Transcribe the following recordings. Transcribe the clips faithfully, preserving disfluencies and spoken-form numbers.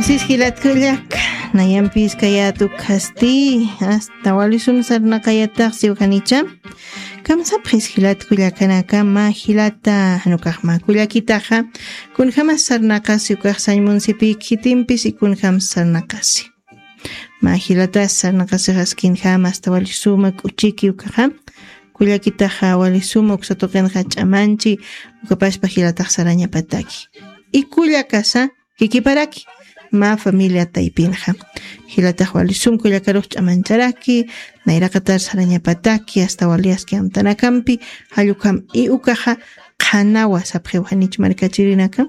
Sis jilat kullak, nayampis kayat ukhasti, hasta walisum sarnaqayatax siwjanicha. Kamsapxis jilat kullakanaka, mä jilata, janukax mä kullakitaxa, kunjamas sarnaqasi ukax sañ munsipïk jitimpis y kunjamas sarnaqasi. Mä jilatas sarnaqasixas kinjamas hasta walisuma k'uchiki ukaxa, kullakitaxa walisuma uksa tuqinxa ch'amanchi, ukapaspa jilatax sarañapataki. Y kullakasa, kikiparaki, mä familia taypinxa. Jilatax walisum kullakarux ch'amancharaki, nayraqatar sarañapataki, hasta waliyaski amtanakampi, jallukam y ukaxa qhanawa sapxiw janich markachirinaka.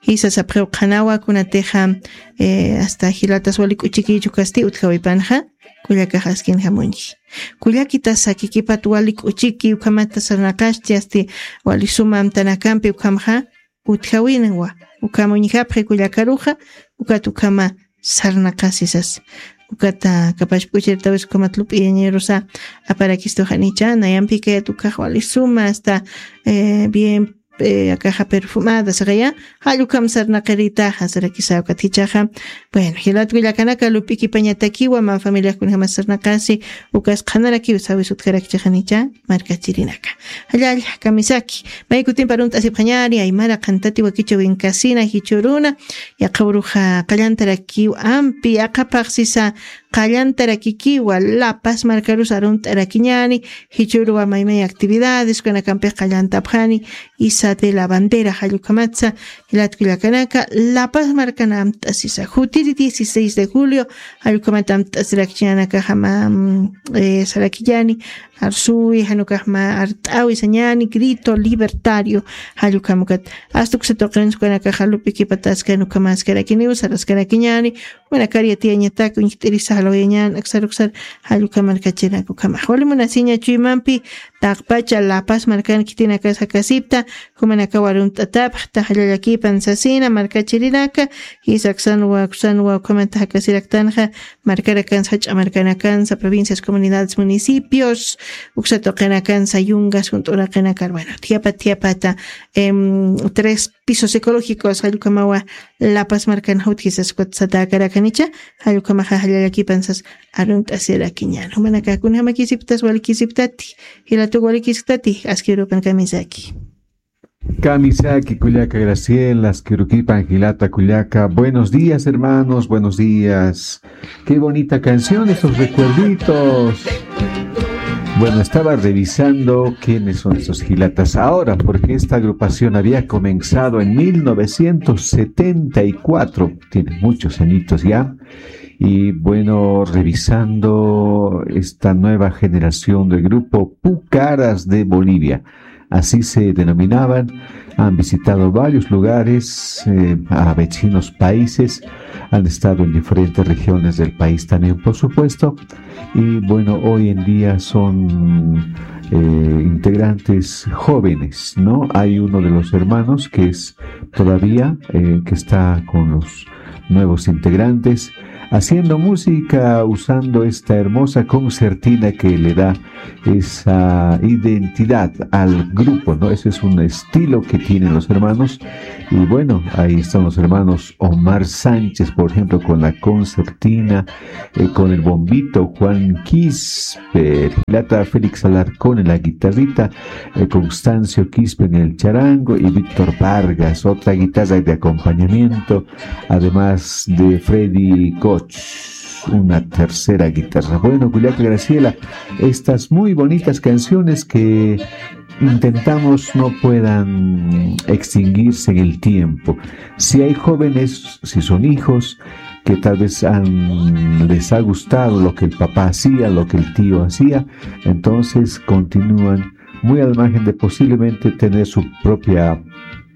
Jisa sapxiw qhanawa kunatixa, eh, hasta jilatas wali k'uchikichu kasti utjawipanxa, kullakax askin jamuñji. Kullakitasa kikipat wali k'uchiki ukhamata sarnaqaschi asti walisuma amtanakampi ukhamxa, utjawinwa, ukham uñjapxi kullakaruxa, ukat ukhama sarnaqasisas. Ukata kapashpa k'uchirtawis ukhamat lup'iyañirusa aparakistu janicha, nayampi kayat ukax walisuma hasta, eh, bien, eh, akaxa perfumada saqaya, jallukam sarnaqiritaxa sarakisa ukat jichaxa. Bueno, jilat kullakanaka lup'ikipañatakiwa, mä familiax kunjamas sarnaqasi, ukas qhanarakiw sawis utjarakchi janicha, markachirinaka. Jallalla, kamisaki. May kutimpa arunt'asipxañäni, aymara qhantati wakichäwin kasina, jichhüruna, yaqhüruxa qallantarakiw ampi, aqhapax sisa qallantarakikiwa, La Paz markarus arunt'arakiñäni, jichhüruwa maymay actividades, kunakampix qallantapxani, Iza de la Bandera, jallukhamatsa, jilat kullakanaka, La Paz markan amt'asisa. Jutiri dieciséis de julio, jallukhamat amt'asirakchiñanakaxa mä, mm, eh, sarakiñäni, arsuwi, janukax mä art'awi sañäni, grito libertario, jallukhamukat. Hasta uksa tuqin sukanakaxa lup'ikipataskan ukham askarakiniw, saraskarakiñäni, Jumanakar yatiyañatak uñjt'irisa jalwayañän aksar uksar jallukam markachirinaka ukhamax. Wali munasiña chuymampi, taqpacha La Paz markan khitinakas jakasipta, jumanakaw arunt'atapxta, jallallakipan sasina markachirinaka, jisa aksanwa, aksanwa ukhamanta jakasiraktanxa, markarakansa, jach'a markanakansa, provincias, comunidades, municipios, uksa tuqinakansa, yungas, junt'uraqinakar, bueno, thiyapa, thiyapata, em, tres pisos ecológicos, jallukamawa, La Paz markan jutjisas kutsatakarakanicha, jallukamaxa jallallakipansas arunt'asirakiñän. Jumanaka kunjamakisiptas walikisiptati, jilatuq walikisiptati, askirupan kamisaki. Kamisaki kullaka Graciela, askirukipan jilata kullaka. Buenos días, hermanos, buenos días. Qué bonita canción, esos recuerditos. Bueno, estaba revisando quiénes son estos jilatas ahora, porque esta agrupación había comenzado en mil novecientos setenta y cuatro, tiene muchos añitos ya. Y bueno, revisando esta nueva generación del grupo Pucaras de Bolivia, así se denominaban, han visitado varios lugares, eh, a vecinos países, han estado en diferentes regiones del país también, por supuesto. Y bueno, hoy en día son, eh, integrantes jóvenes, ¿no? Hay uno de los hermanos que es todavía, eh, que está con los nuevos integrantes, haciendo música, usando esta hermosa concertina que le da esa identidad al grupo, ¿no? Ese es un estilo que tienen los hermanos. Y bueno, ahí están los hermanos Omar Sánchez, por ejemplo, con la concertina, eh, con el bombito, Juan Quispe, Plata, Félix Alarcón en la guitarrita, eh, Constancio Quispe en el charango y Víctor Vargas, otra guitarra de acompañamiento, además de Freddy Koch, una tercera guitarra. Bueno, kullaka Graciela, estas muy bonitas canciones que intentamos no puedan extinguirse en el tiempo. Si hay jóvenes, si son hijos que tal vez han, les ha gustado lo que el papá hacía, lo que el tío hacía, entonces continúan muy al margen de posiblemente tener su propia,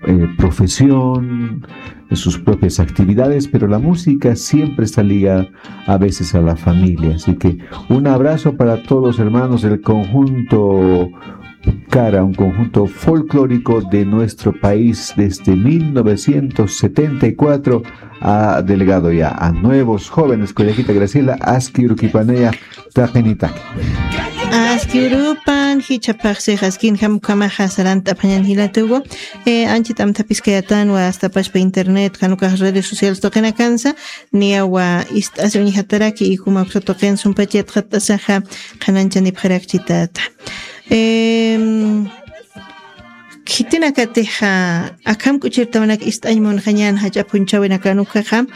eh, profesión, sus propias actividades, pero la música siempre está ligada a veces a la familia. Así que un abrazo para todos, hermanos del conjunto Cara, un conjunto folclórico de nuestro país desde mil novecientos setenta y cuatro, ha delegado ya a nuevos jóvenes. Kullakita Graciela, aski urukipanaya taqinitaki. Aski urupan, jichhapaxsix askin jamkamaxa sarant'apxañan jilatugu. Eh, anchit amthapiskayatan wa astapashpa internet, janukax redes sociales tuqinakansa, niyawa ist'asi uñjataraki y juma uksa tuqin sumpachat qat'asaxa qhananchanipxarakchitata. Em, Khitinakatixa akham k'uchirtawanak ist'añ munxañan jach'a phunchhawinakanukaxa,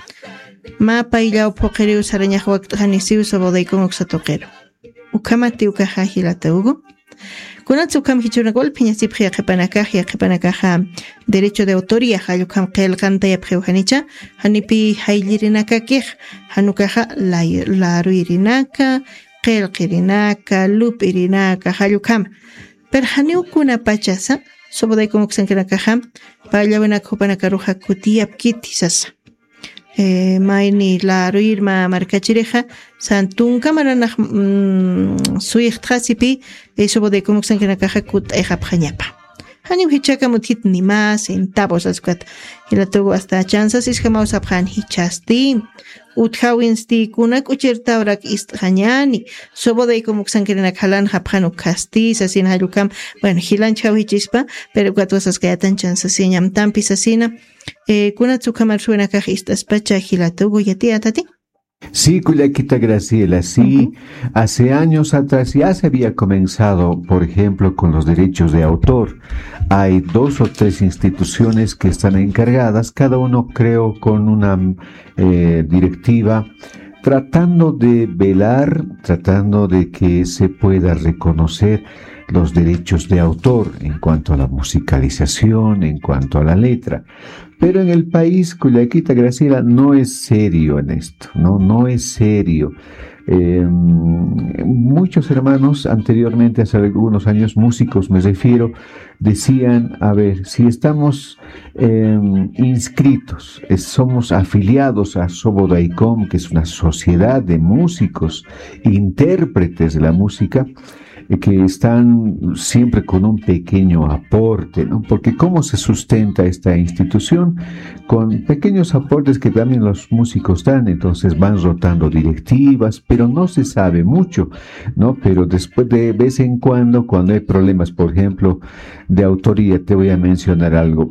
mä payllaw phuqiriw sarañax wakt'xanisiw Sobodaykun uksa tuqiru. Ukhamati ukaxa jilata Hugo. Kunatsa ukham jichhürunak walphiñasipxi yaqhipanakax, yaqhipanakaxa derecho de autoría jall ukham qillqantayapxiw janicha, janipi jayllirinakakix, jan ukaxa lay-, laruyrinaka, qillqirinaka, lup'irinaka, jall ukhama. Pero janiw kunapachasa, Sobodaykun uksankanakaxa, payllawinak jupanakaruxa kutiyapkiti sasa. Eh, mayni laruyir mä markachirixa, san tunka maranax, mm, suyixtxasipi, eh, Sobodaykun uksankanakaxa kut'ayxapxañapa. Janiw jichhakam utjit ni mä centavos askat. Jilatugu asta chansas isjamaw sapxan jichhasti. Utjawinsti kuna k'uchirtawrak ist'xañani. Sobodaykun uksankirinak jalanxapxan ukhasti, sasin jall ukham. Bueno, jilanchjaw jichispa, pero ukat wasaskayatan chansasiñam tampi sasina. Eh, kunatsa ukhamar suwinakax ist'aspacha jilatugu yatiyatati. Sí, kullakita Graciela, sí. Ujú. Hace años atrás ya se había comenzado, por ejemplo, con los derechos de autor. Hay dos o tres instituciones que están encargadas, cada uno creo con una, eh, directiva, tratando de velar, tratando de que se pueda reconocer los derechos de autor en cuanto a la musicalización, en cuanto a la letra. Pero en el país, kullakita Graciela, no es serio en esto, ¿no? No es serio. Eh, muchos hermanos anteriormente, hace algunos años, músicos me refiero, decían, a ver, si estamos, eh, inscritos, eh, somos afiliados a Sobodaicom, que es una sociedad de músicos, intérpretes de la música, eh, que están siempre con un pequeño aporte, ¿no? Porque ¿cómo se sustenta esta institución? Con pequeños aportes que también los músicos dan, entonces van rotando directivas, pero no se sabe mucho, ¿no? Pero después, de vez en cuando, cuando hay problemas, por ejemplo, de autoría, te voy a mencionar algo.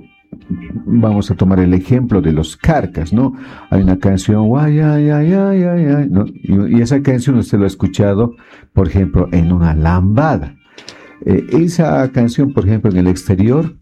Vamos a tomar el ejemplo de los Carcas, ¿no? Hay una canción, "Guay, ay, ay, ay, ay, ay", ¿no? Y, y esa canción usted lo ha escuchado, por ejemplo, en una lambada. Eh, esa canción, por ejemplo, en el exterior,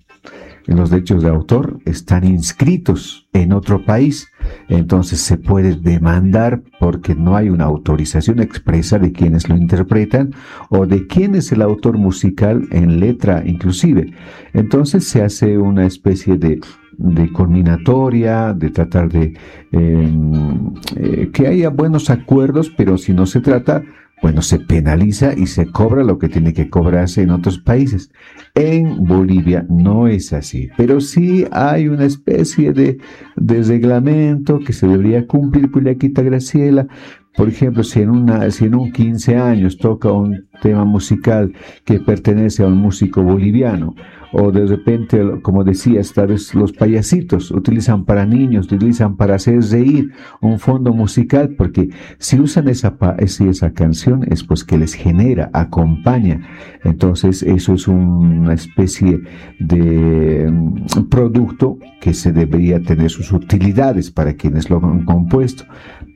en los derechos de autor, están inscritos en otro país, entonces se puede demandar porque no hay una autorización expresa de quienes lo interpretan o de quién es el autor musical en letra inclusive. Entonces se hace una especie de, de culminatoria, de tratar de, em, eh, que haya buenos acuerdos, pero si no se trata, bueno, se penaliza y se cobra lo que tiene que cobrarse en otros países. En Bolivia no es así, pero sí hay una especie de, de reglamento que se debería cumplir, Cullaquita Graciela. Por ejemplo, si en una, si en un quince años toca un tema musical que pertenece a un músico boliviano, o de repente, como decías, tal vez los payasitos utilizan para niños, utilizan para hacer reír, un fondo musical, porque si usan esa, pa-, esa, esa canción es pues que les genera, acompaña. Entonces, eso es una especie de, mm, producto que se debería tener sus utilidades para quienes lo han compuesto.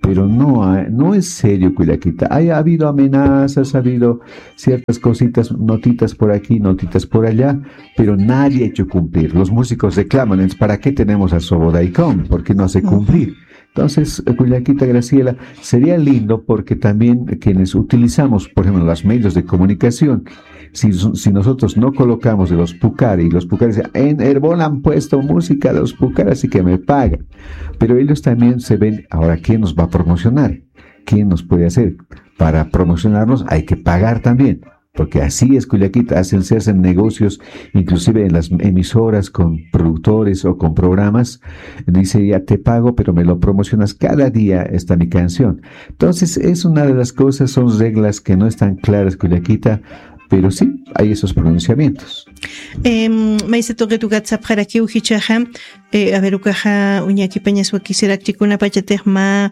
Pero no, ha-, no es serio, Cullaquita. Hay, ha habido amenazas, ha habido ciertas cositas, notitas por aquí, notitas por allá, pero nadie ha hecho cumplir. Los músicos reclaman, entonces, ¿para qué tenemos a Sobodaicom? ¿Por qué no hace cumplir? Entonces, eh, Cullaquita Graciela, sería lindo porque también quienes utilizamos, por ejemplo, los medios de comunicación, si, si nosotros no colocamos de los Pucari, y los Pucari dicen, "En Erbol han puesto música de los Pucari, así que me pagan". Pero ellos también se ven, ahora, ¿quién nos va a promocionar? ¿Quién nos puede hacer? Para promocionarnos hay que pagar también. Porque así es, Cullaquita, hacen, se hacen negocios, inclusive en las emisoras con productores o con programas. Dice, "Ya te pago, pero me lo promocionas, cada día está mi canción". Entonces, es una de las cosas, son reglas que no están claras, Cullaquita, Pero sí, hay esos pronunciamientos. Em, maysa tuqit ukat sapxarakiw jichhaxa, eh, a ver, ukaxa uñakipañas wakisirakchi kunapachatix mä,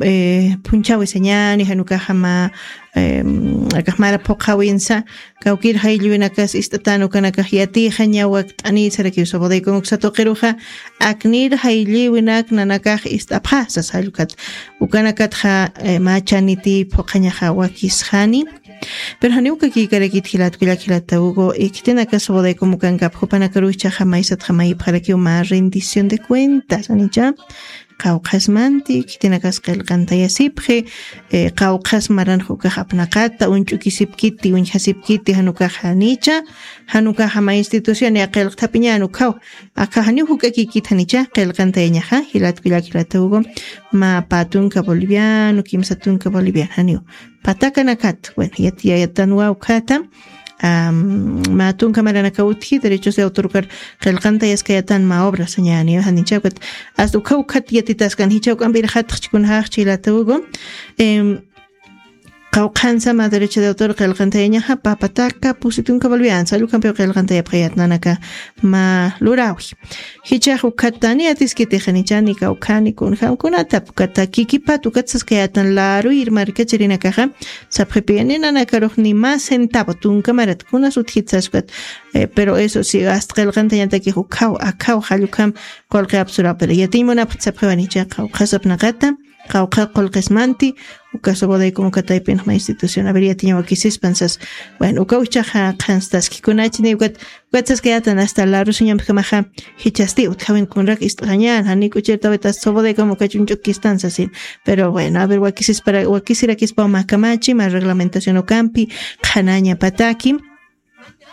eh, phunchhäwisañäni, jan ukaxa mä, em, akax mara phuqhäwinsa, kawkïr jayllïwinakas ist'atän ukanakax yatiyxaña wakt'anïsarakiw Sabadell con uksa tuqiruxa, aknïr jayllïwinak nanakax ist'apxä sasa jall ukat. Ukanakatxa, eh, mä chaniti phuqhañaxa wakisxani. Pero janiw ukakïkarakit jilat kullak, jilata Hugo, eh, khitinaka Sabadell como ukankapx jupanakaruw jichhaxa maysatxa mayipxarakiw mä rendición de cuentas, janicha. Qawqhasmanti, khitinakas qillqantayasipxi, eh, qawqhas maranx ukax apnaqata, uñch'ukisipkiti, uñjasipkiti, jan ukax janicha, jan ukax mä institución, ya qillqthapiñän ukhaw. Aka janiw juk'akïkit janicha, qillqantayañaxa, jilat kullak, jilata Hugo, mä pä tunka boliviano, kimsa tunka boliviano, janiw. Patakanakat, bueno, yat-, ya-, yatiyätanwa ukhata, am, mä tunka maranakaw utji, derechos de autor ukar qillqantayaskayätan mä obra sañäni, janicha ukat, hasta ukhaw ukhat yatitaskan, jichha juk'amp irxatxchi kunjaxchi, jilata Hugo, em, qawqhansa mä derecho de autor qillqantayañaxa, pä pataka, pusi tunka boliviano, sasa jall ukhampiw qillqantayapxayät nanaka mä luräwi. Jichhax ukat tani atiskitix janicha, ni kawkhani kunjam kunatap, ukata kikipat ukat saskayätan laruyir markachirinakaxa, sapxipï ni nanakarux ni mä centavo tunka marat kunas utjit sas ukat, eh, pero eso sí, hasta qillqantayañatakix ukhaw, akhaw, jall ukham qullqi apsuraw, pero yatiñ munapxta sapxiwa janicha, qawqhas apnaqata, qawqha qullqismanti, uka Sabadell como uka taypinx mä institución, a ver, yatiña wakisispan sas. Bueno, ukaw jichhaxa qhanstaski kunachani, ukat, ukat saskayätan hasta larusuñampkamaxa, jichhasti utjäwin kunrak ist'xañän, jani k'uchirtawit hasta Sabadell como uka ch'uñch'ukistan sasin. Pero bueno, a ver, wakisispara-, wakisirakispaw mä kamachi, mä reglamentación ukampi, qhanañapataki.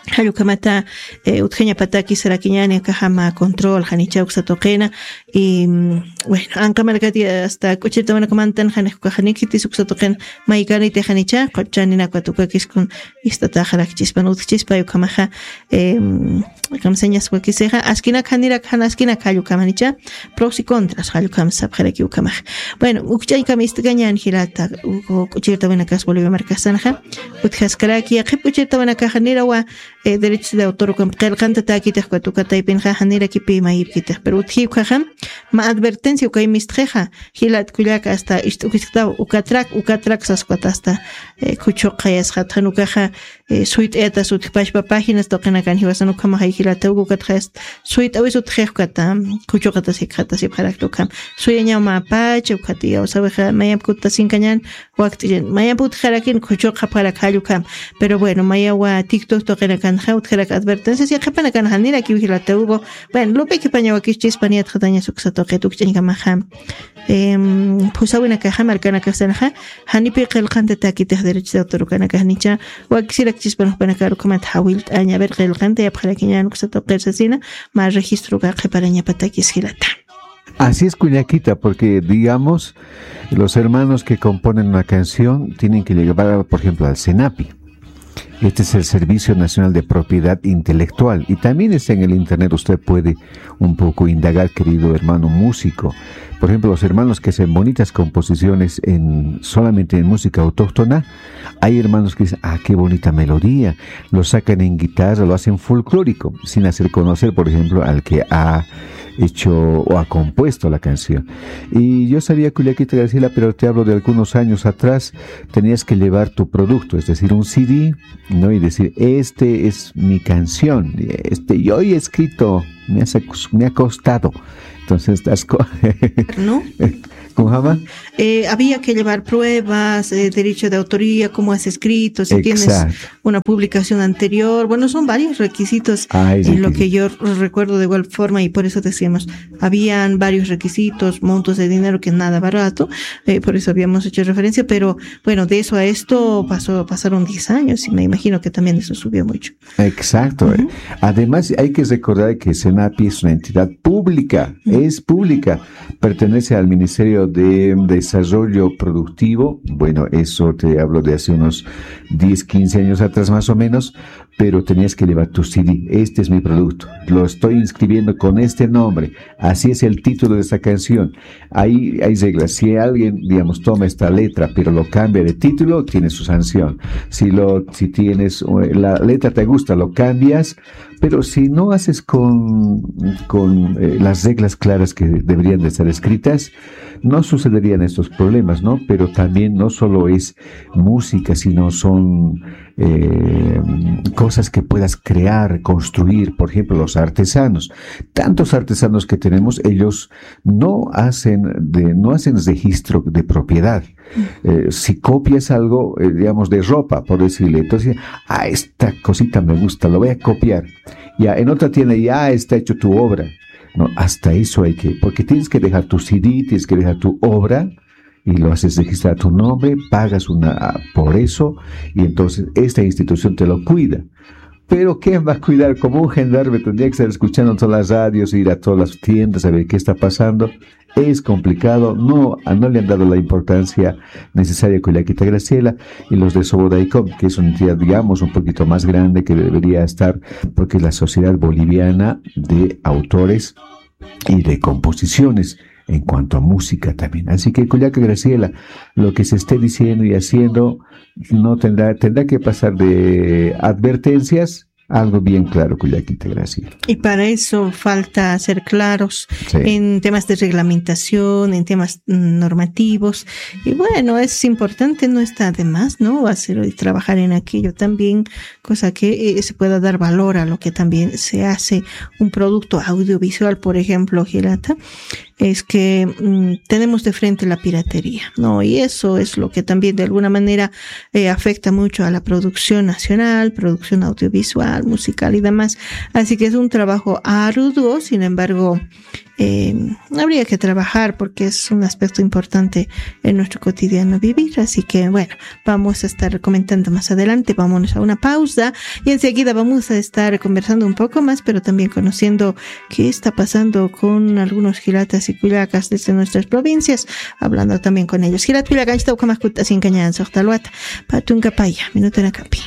Jall ukhamata, eh, utjañapataki sarakiñäni, akaxa mä control, janicha uksa tuqina. Y, mm, bueno, anqa markati hasta k'uchirtawinakamantan, jani ukax jani khitis uksa tuqin maykaniti janicha, quchaninakat ukakiskun ist'ataxarakchispan utjchispay ukhamaxa, em, kamsañas wakisixa, askinak janirak, jan askinak jall ukham janicha, pros y contras, jall ukham sapxaraki ukhamax. Bueno, ukch'añkam ist'kañän jilata, u-, u-, k'uchirtawinakas Bolivia markasanxa, utjaskaraki, yaqhip k'uchirtawinakaxa nirawa, eh, derechos de autor ukamp qillqantatäkitix ukat uka taypinxa, janirakipï mayipkitix, pero utji ukhaxa, mä advertencia ukay mistxixa, jilat kullak hasta ist'ukisktaw, ukatrak, ukatrak sas ukat hasta, eh, khuchuqayasxat, jan ukaxa, eh, suyt'ayatas utjpachpa páginas tuqinakan jiwasan ukhamaxay jilata Hugo, ukatxa suyt'awis utjix ukata, khuchuqatas jikxatasipxarakta ukham. Suyañaw mä pacha, ukat iyawsawixa mayamp kuttasinkañän, wakt'illan, mayamp utjxarakin khuchuqapxarak jall ukham. Pero bueno, mayawa TikTok tuqinakanxa utjarak advertencias, yaqhipanakan janirakiw jilata Hugo. Bueno, lup'ikipaña wakischispan yatxatañas uksa tuqit ukch'añkamaxa. Em, phusawinakaxa, markanakasanxa, janipï qillqantatäkitix derechos de autor ukanakax janicha, wakisirakchispan jupanakar ukhamat jawillt'aña, a ver, qillqantayapxarakiñän uksa tuqir sasina, mä registro uka qhiparañapatakis jilata. Así es, kullakita, porque, digamos, los hermanos que componen una canción tienen que llevar, por ejemplo, al senapi. Este es el Servicio Nacional de Propiedad Intelectual. Y también está en el internet, usted puede un poco indagar, querido hermano músico. Por ejemplo, los hermanos que hacen bonitas composiciones en, solamente en música autóctona, hay hermanos que dicen, "Ah, qué bonita melodía". Lo sacan en guitarra, lo hacen folclórico, sin hacer conocer, por ejemplo, al que ha hecho o ha compuesto la canción. Y yo sabía, Culiaquita Graciela, pero te hablo de algunos años atrás, tenías que llevar tu producto, es decir, un C D, ¿no? Y decir, "Este es mi canción, este yo he escrito, me ha, me ha costado". Entonces, estás co- ¿No? ¿Cómo se llama? Eh, había que llevar pruebas, eh, derecho de autoría, cómo has escrito, si tienes Exacto. una publicación anterior. Bueno, son varios requisitos Ay, en lo sí, que sí. yo recuerdo de igual forma y por eso decíamos, habían varios requisitos, montos de dinero que nada barato, eh, por eso habíamos hecho referencia, pero bueno, de eso a esto pasó, pasaron diez años y me imagino que también eso subió mucho. Exacto. Ujú. Además, hay que recordar que Senapi es una entidad pública, Ujú. es pública, pertenece al Ministerio de Desarrollo Productivo. Bueno, eso te hablo de hace unos diez, quince años atrás más o menos, pero tenías que llevar tu C D. Este es mi producto. Lo estoy inscribiendo con este nombre. Así es el título de esta canción. Hay, hay reglas. Si alguien, digamos, toma esta letra, pero lo cambia de título, tiene su sanción. Si lo, si tienes, eh, la letra te gusta, lo cambias, pero si no haces con, con, eh, las reglas claras que deberían de estar escritas, no sucederían estos problemas, ¿no? Pero también no solo es música, sino son, eh, cosas que puedas crear, construir, por ejemplo, los artesanos. Tantos artesanos que tenemos, ellos no hacen de, no hacen registro de propiedad. Eh, si copias algo, eh, digamos, de ropa, por decirle, entonces, ah, esta cosita me gusta, lo voy a copiar. Ya, en otra tienda ya está hecho tu obra. No, hasta eso hay que, porque tienes que dejar tu C D, tienes que dejar tu obra y lo haces registrar tu nombre, pagas una, ah, por eso, y entonces esta institución te lo cuida. Pero ¿quién va a cuidar? Como un gendarme tendría que estar escuchando todas las radios, ir a todas las tiendas a ver qué está pasando. Es complicado, no, no le han dado la importancia necesaria con la quita Graciela, y los de Sobodaicom, que es una entidad, digamos, un poquito más grande que debería estar, porque es la Sociedad Boliviana de Autores y de Composiciones, en cuanto a música también. Así que, Cuyaca Graciela, lo que se esté diciendo y haciendo no tendrá, tendrá que pasar de advertencias a algo bien claro, Cuyaquita Graciela. Y para eso falta ser claros, sí, en temas de reglamentación, en temas, mm, normativos. Y bueno, es importante, no está de más, ¿no? Hacer y trabajar en aquello también, cosa que, eh, se pueda dar valor a lo que también se hace, un producto audiovisual, por ejemplo, Gilata, es que, mm, tenemos de frente la piratería, ¿no? Y eso es lo que también de alguna manera, eh, afecta mucho a la producción nacional, producción audiovisual, musical y demás. Así que es un trabajo arduo, sin embargo, eh, habría que trabajar porque es un aspecto importante en nuestro cotidiano vivir. Así que, bueno, vamos a estar comentando más adelante. Vámonos a una pausa y enseguida vamos a estar conversando un poco más, pero también conociendo qué está pasando con algunos jilatas y cullacas desde nuestras provincias, hablando también con ellos. Jilat cullakanchita, ukhamakuta sin cañan, soxtalwata, patunka paya, minuto en acapi.